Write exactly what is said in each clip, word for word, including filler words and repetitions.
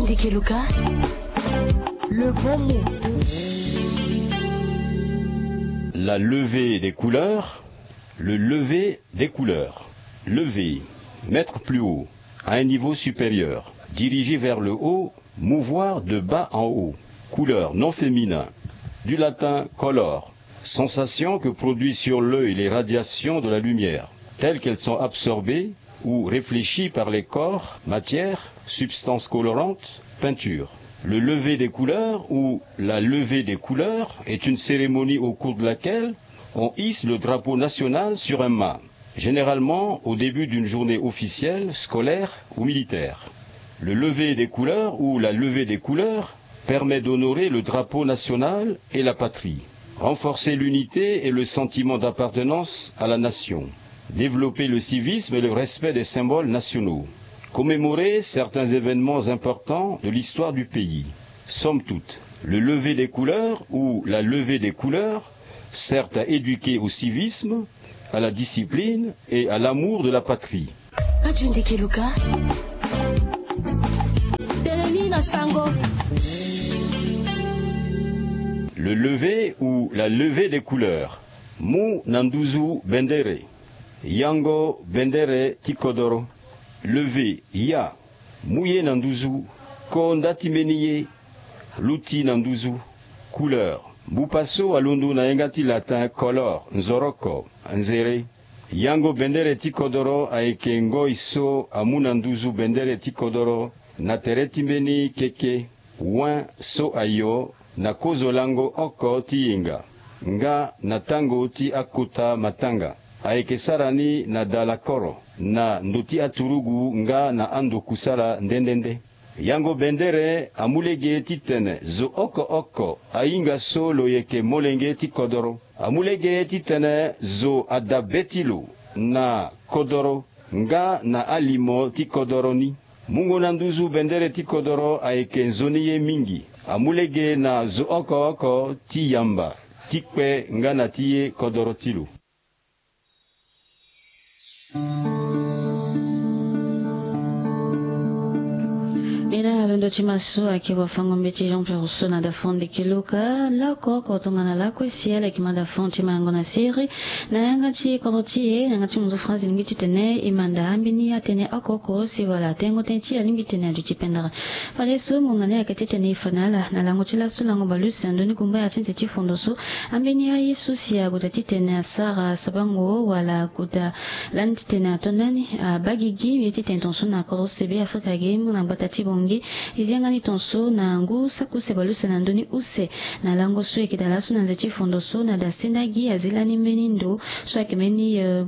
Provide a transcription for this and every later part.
Ndeke Luka, le bon mot. La levée des couleurs, le lever des couleurs. Lever, mettre plus haut, à un niveau supérieur, diriger vers le haut, mouvoir de bas en haut. Couleur, nom féminin, du latin color, sensation que produit sur l'œil les radiations de la lumière, telles qu'elles sont absorbées ou réfléchies par les corps, matière, substance colorante, peinture. Le lever des couleurs ou la levée des couleurs est une cérémonie au cours de laquelle on hisse le drapeau national sur un mât, généralement au début d'une journée officielle, scolaire ou militaire. Le lever des couleurs ou la levée des couleurs permet d'honorer le drapeau national et la patrie, renforcer l'unité et le sentiment d'appartenance à la nation, développer le civisme et le respect des symboles nationaux, commémorer certains événements importants de l'histoire du pays. Somme toute, le lever des couleurs ou la levée des couleurs sert à éduquer au civisme, à la discipline et à l'amour de la patrie. Radio Ndeke Luka. Teleni na sango. Le lever ou la levée des couleurs. Mu na nduzu bendere. Yango bendere ti kodoro. Lever, ya. Mu ye na nduzu. Ko nda ti mbeni ye. Luti na nduzu. Couleur. Mbupa so alondo na yenga ti latin color, nzoroko, nzere. Yango bendere ti kodoro ayeke ngoi so amu na nduzu bendere ti kodoro na tere ti mbeni keke, wen so ayo na kozo lango oko ti yenga, nga na tango ti akota matanga. Ayeke sara ni na dalakoro, na ndo ti aturugu nga na ando kusala nde nde nde. Yango bendere amu lege titene zo oko oko ahinga so lo yeke molenge ti kodoro. Amu lege titene zo ada be ti lo na kodoro nga na alimo ti kodoro ni. Mungo na nduzu bendere ti kodoro ayeke nzoni ye mingi. Amu lege na zo oko oko ti yamba, ti kpe nga na ti ye kodoro ti lo. Ni na alondo ti maso ayeke wafango-mbeti Jean Pierre Rousseau na dafon Ndeke Luka. Laoko oko tongana lakue si ala yeke ma dafon ti mayango na siriri na yanga ti kodro ti e na yanga ti munzu France. E lingbi titene e manda ambeni atënë oko oko si wala tengo tënë ti e alingbi titene aduti pendere. Fadeso ngonga ni ayeke titene e fa na ala na lango ti laso lango baleuse na ndö ni gumbaya ti nze ti fondo so. Ambeni aye so si ague daa titene asara sabango wala ague daa lani titene ato ndani abaa gigi ye titene tongaso na kodro sebe Afrika ge mu na gbata ti Bangui. E zi yanga ni tongaso na ngu saki use baleuse na ndö ni use na lango so e yeke daa laso na nze ti fondo so na daa senda gi azi lani mbeni ndo so ayeke mbeni, eh,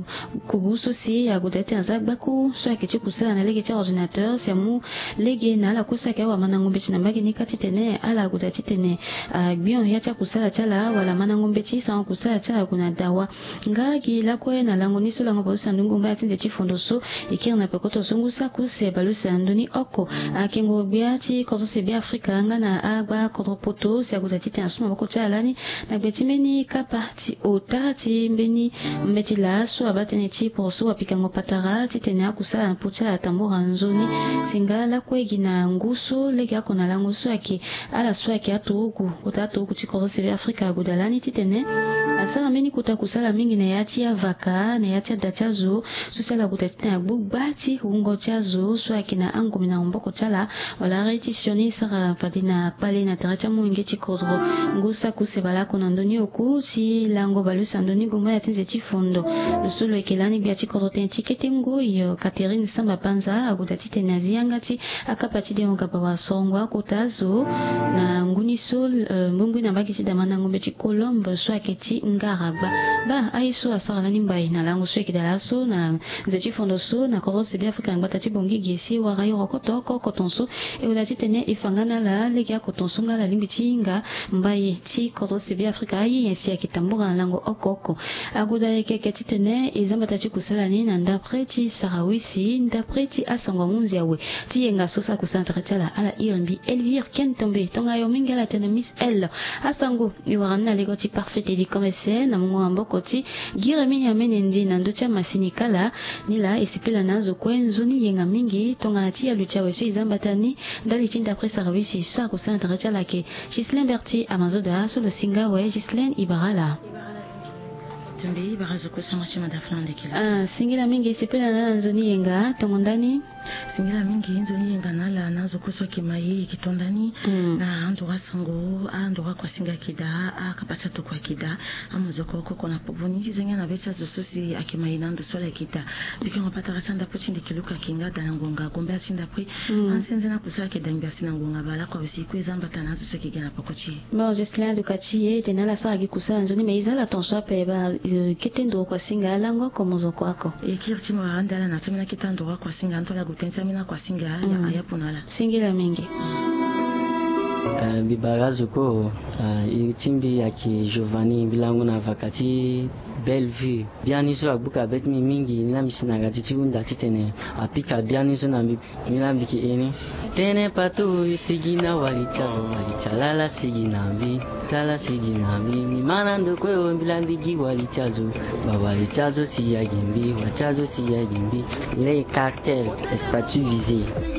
kubu so si ague daa titene aza gbaku so ayeke ti kusala na lege ti ordinateur si amu lege na ala kue so ayeke awamandango mbeti na mbage ni kâ titene ala ague daa titene agbion ya ti akusala ti ala wala mandango mbeti sarango kusala ti ala ague na dawa. Nga gi lakue na lango ni so lango baleuse na ndö ni gumbaya ti nze ti fondo so e kiri na pekoto so ngu saki use baleuse na ndö ni oko akengo gbia ti kodro sebe Afrika nga na agba kodro poto si ague daa titene asu maboko ti ala lani na gbe ti mbeni kapa ti ota ti mbeni mbeti laa so abaa tënë ti poroso wapikango patara titene akusala na popo ti ala atambora nzoni. Si nga lakue gi na ngu so lege oko na lango so ayeke ala so ayeke aturugu kota aturugu ti kodro sebe Afrika ague daa lani titene asara mbeni kota kusala mingi na ya ti avaka na ya ti ada ti azo so si ala ague daa titene agbu gba ti wungo ti azo so ayeke na angomina maboko ti ala wala arrêt ti sioni sara fade na kpale na tere ti amolenge ti kodro. Ngu saki use baleoko na ndö ni oku ti lango baleuse na ndö ni gumbaya ti nze ti fondo. Lo so lo yeke lani gbia ti kodro tënë ti kete ngoi, eh, Catherine Samba Panza ague daa titene azi yanga ti akapa ti dengo gaba wala sorongo akota azo na ngu ni so, eh, mbongboi na mbage ti damandango mbeti Colombe so ayeke ti ngara gba. Baa aye so asara lani mbai na lango so e yeke daa laso na nze ti fondo so na kodro sebe Afrika na gbata ti Bangui ge si e wara e rokoto oko oko tongaso. E gue daa titene e fa nga na ala legeoko tongaso nga ala lingbi ti hinga mbai ti kodro sebe Afrika aye nyen si ayeke tambora na lango oko oko. Ague daa ayeke yeke titene e za mbata ti kusala ni na ndapre ti Sarawisi ndapre ti asango ahunzi awe ti yenga so sara kusala na tere ti ala. Ala iri mbi Elvire Ken Tombe, tongayo mingi ala tene Miss L. Asango e wara ni na lego ti Parfait Télécom S N na mungo maboko ti Giremi Nyamene Ndi na ndö ti amasini kala. Nilaa e sepela na azo kue nzoni yenga mingi tongana ti aluti awe so e za mbata Ndali ti ndapre service so akosala na tara ti ala ke. Gislain Berti Amazoda so lo singa awe. Gislain, e bara ala. Tumbi e bara zo kue sango ti manda fana ndekela. Ah, singila mingi, sepela na ala na nzoni yenga tongo ndani. Singila mingi, nzoni yenga na ala na zo kue so ayeke ma ye, e yeke to ndani. Na andura sango, andura kuasinga ayeke daa, akapa ti atokua ayeke daa. Amozoko oko oko na popo ni ti zenga na be ti azo so si ayeke ma ye na ndo so ala yeke daa. Bikengo patara ti andapre ti ndeke luka ayeke nga daa na ngonga gombe ti ndapre. Anzenze na kusa ayeke dangbi asi na ngonga bale oko awe si e kue e za mbata na azo so ayeke ga na peko ti e. Bon, Jocelyn aluka ti e, tene ala sara gi kusa na nzoni, mais e za ala tonso ape, ba, eh, kete nduru kuasinga alango oko mozoko oko. E kiri ti mo ande ala na so ambeni akete anduru akuasinga, anto ala gue tënë ti ambeni akuasinga, ya, aya puna ala. Singila mingi. Eh, mbi bara azo kue, eh, iri ti mbi ayeke Giovanni, mbi lango na vaka ti Bellevue. Biani so agbuka be ti mbi mingi, ni la mbi si na radio ti hunda titene apika biani so na mbi. Mbi la mbi yeke iri ni. Tënë paturu, sigi na wali ti azo, wali ti alala sigi na mbi, ti ala sigi na mbi. Mbi ma na ndo kue o, mbi la mbi gi wali ti azo. Bawali ti azo si ya gi mbi, wa ti azo si ya gi mbi. Les cartels, les statuts visés.